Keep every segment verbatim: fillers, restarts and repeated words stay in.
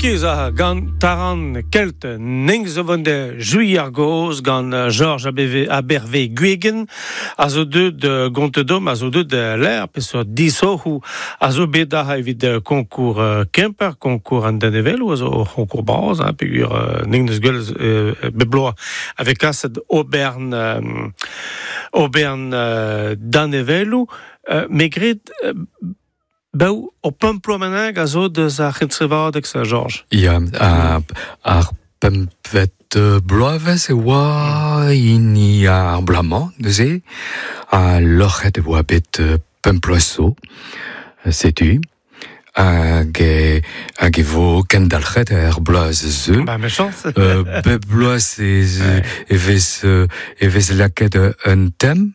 Kiz a gant Taran Kelt ning zo vont de jui ar goz gant Georges Aberve Guegen a zo deut de Gontedom a zo deut de l'air pe so disohou a zo bet da evit concours Kemper concours an Denevel ou a zo concours bras hein, pegur ning deus gwell bebloa avec kaset Aubern Aubern Danevelou megret Bou, o pemplo menag a zo deus ar c'hentrevadeg sa Georges. Ya, ar pempvet bloavez e oa hini ar blamañ, neuze, a loc'het e oa bet pemplo so, setu, hag e, hag e vo kendalc'het ar bloaz ze. Ba, mechans. euh, bep bloaz e, e vez, e vez laket un tem.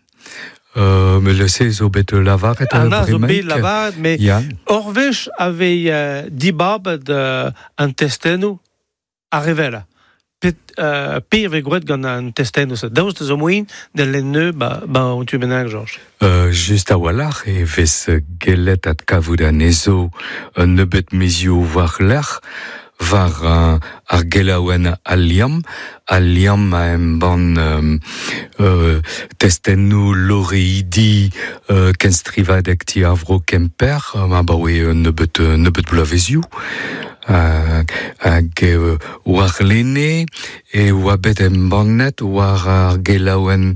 Euh, mais le se zo bet lavaret ah, zo bet lavaret, mais yeah. Orvech avait euh, dibabet euh, an testennoù a revela. Pet, euh, pir ve gwet gant an testennoù sa. Daoust zo moin de lenne ba, ba on tu bennak, Georges. Euh, just a-walc'h e vez gellet at kavout anezo un nebeut mezioù war lec'h war uh, ar gelaouen al liamm, al liamm a embann euh, euh, testennoù loreidi euh, kenstrivadeg ti ar vro Kemper, ma baoe nebeut, nebeut bloavezioù, hag, hag euh, war lene e oa bet embannet war ar gelaouen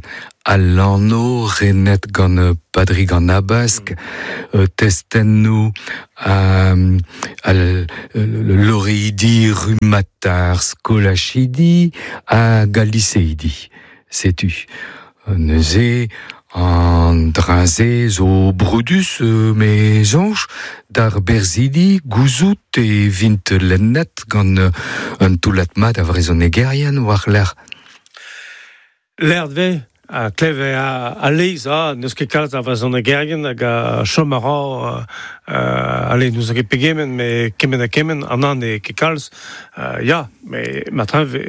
al lanno renet gant Padrig an Abask, mm. testennoù euh, al loreidi rumatar skolachidi ha galiseidi, setu. Neuze an draze zo brudus me zonj d'ar berzidi gouzout e vint lennet gant un toulat mat a vrezhonegerien war l'er. L'er dve a kleve a, a leiz, a, n'eus ket kalz a vrezhonegerien hag a chom a ra euh, allez, nous a ket pegement, mais kement ha kement, an an e ket kalz, euh, ya, mais matrin ve,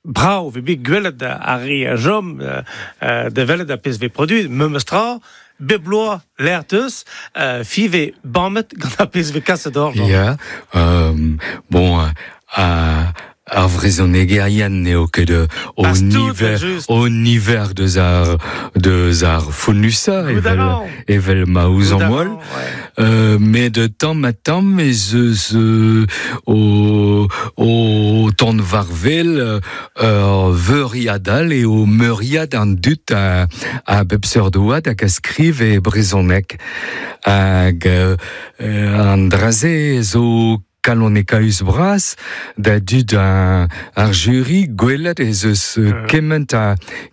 brao ve bet gwelet ar re a jom euh, de welet a pezh ve produit, memes tra, bep bloaz l'air teus, euh, fi ve bammet gant a pezh ve kaset or. Ya, euh, bon, euh, ar vrezhonegerien n'eo ket o niver, o niver deus ar, deus ar founusa, evel, evel ma ouzan moal. Euh, mais de tamm ha tamm ez eus euh, o, o ton varvel ur veuriadal e o meuriad an dut a, a bep seurt oad hag a skriv e brezhoneg. Hag euh, an draze zo kalonekaus bras da dud ar, ar jury gwelet ez eus uh. kement a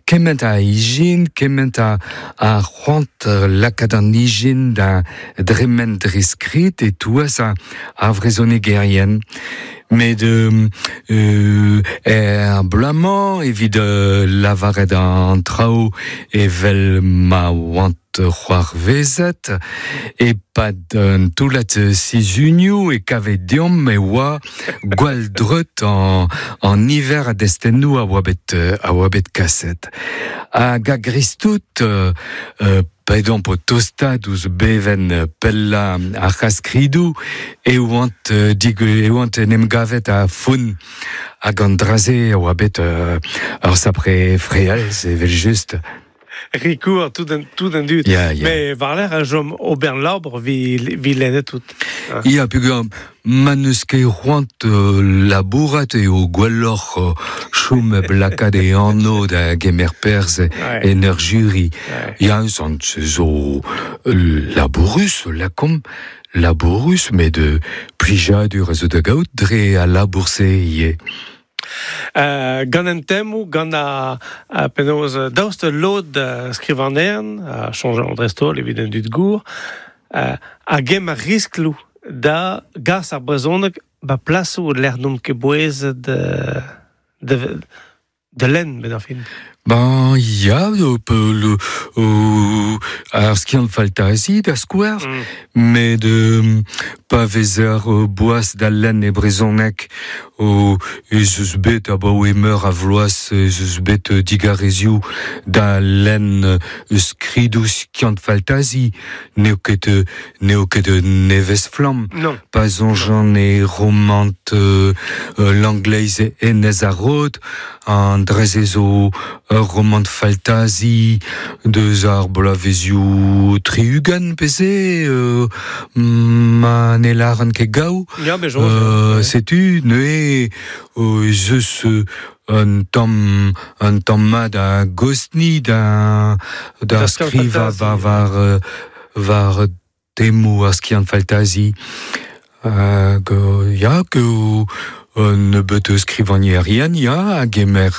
kement a ijin, kement a, a c'hoant lakaat an ijin da dremen dre skrid e touez a, a vrezhonegerien. Mais de euh, er blamañ evit euh, lavaret an traoù evel ma oant c'hoarvezet e pad un toulat sizunioù e kavet deomp e oa gwall dreut an, an niver a destennoù a oa bet, a oa bet kaset. Hag a gristout euh, euh, Paedomp o tostad ouz beven pella ar c'haskridou e oant, dig, e oant en em gavet a foun hag an draze oa bet euh, ur sapre frealz evel just. Rikour, tout un, tout un dud. Yeah, yeah. Mais war l'air a jom Aubern Labre vi, vi lennet tout. Ah. Ya, peogwir ma n'eus ket c'hoant euh, labourat eo gwelloc'h euh, chom lakaat e anv da gemer perzh ouais. en ur jury. Ouais. Ya, sant zo labourus, lakomp, labourus, met de plijadur a zo da gaout dre a labour-se ivez. Euh, gant an temmoù, gant a, a penaos daoust lod uh, skrivanern, a chanj an dreistholl evit an dud gour, uh, a gem ar riskloù da gas ar brezhoneg ba plasoù lec'h n'omp ket bouezet de, de, de lenn, bet ar fin. Ben, ya, le, euh, ar skiant faltazi da skouer, mm. met euh, pa vezer euh, boaz da lenn e brezhoneg euh, ez eus bet abaoe meur a vloaz ez eus bet digarezioù da lenn skridoù skiant faltazi n'eo ket n'eo ket nevez flamm. Pa soñjan e romant euh, l'angleiz enez ar rod an dreze zo ur romant faltazi deus ar bloavezioù tri-ugent peze euh, ma ne lâran ket gaou. Ya, bet euh, setu neuze euh, ez eus un tamm un tamm mat a gosni da da skrivañ war war war temoù ar skiant faltazi hag ya que un nebeut skrivagnerien ya a gemer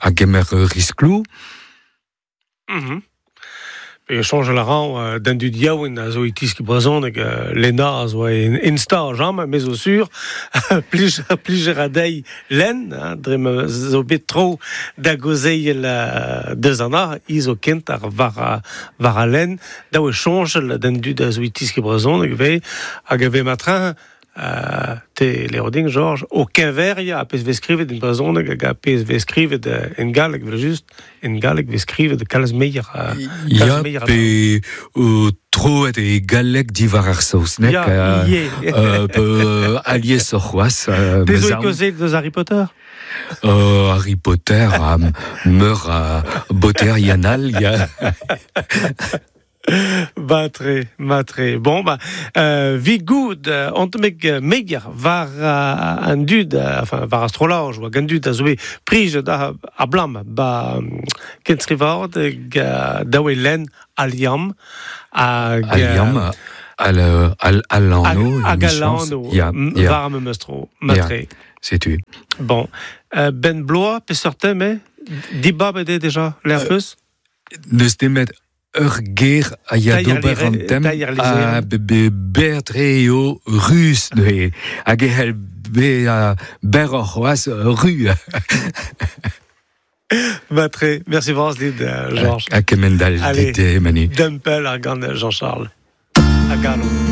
a gemer riskloù. Mm-hmm. Pe soñj a ran d'an dud yaouank a zo e tiski brezhoneg Lena a zo en Insta jam me zo sur plij plijer a deiz lenn hein, dre ma zo bet tro da gozeil deus an ar i zo kent ar war war a lenn da oe soñj d'an dud a zo e tiski brezhoneg ve hag a ve matrin Uh, te leroding, Georges, o keñveria a pezh vez skrivet en brezhoneg hag a pezh vez skrivet en galleg, vel just, en galleg vez skrivet kalz meier. Uh, ya, pe uh, troet e galleg diwar ar saozneg. Ya, uh, euh, alies oc'h c'hoazh. Uh, Te zo e kaozeet deus Harry Potter? Uh, Harry Potter, a meur a boter yanal, ya. Matre, matre. Bon, bah, euh, vi goud, ont meg meger war uh, an dud, enfin, war astrolaj, war an dud a zo prij da a blam, ba kenstrivard da oe len al liamm. Hag al liamm, al, al, al anno. Hag al anno, war am meustro, matre. Setu. Bon, euh, ben bloa, peseurt tem, eh? Dibab eo deja, l'air peus? Neus nemet ur ger a ya d'ober an tem a be bertre eo rus neuze hag e c'hell be a ber oc'h c'hoazh ru. Matre, merci vras dit, Georges. A kemendal dit, Manu. Dempel ar gant Jean-Charles. A galo.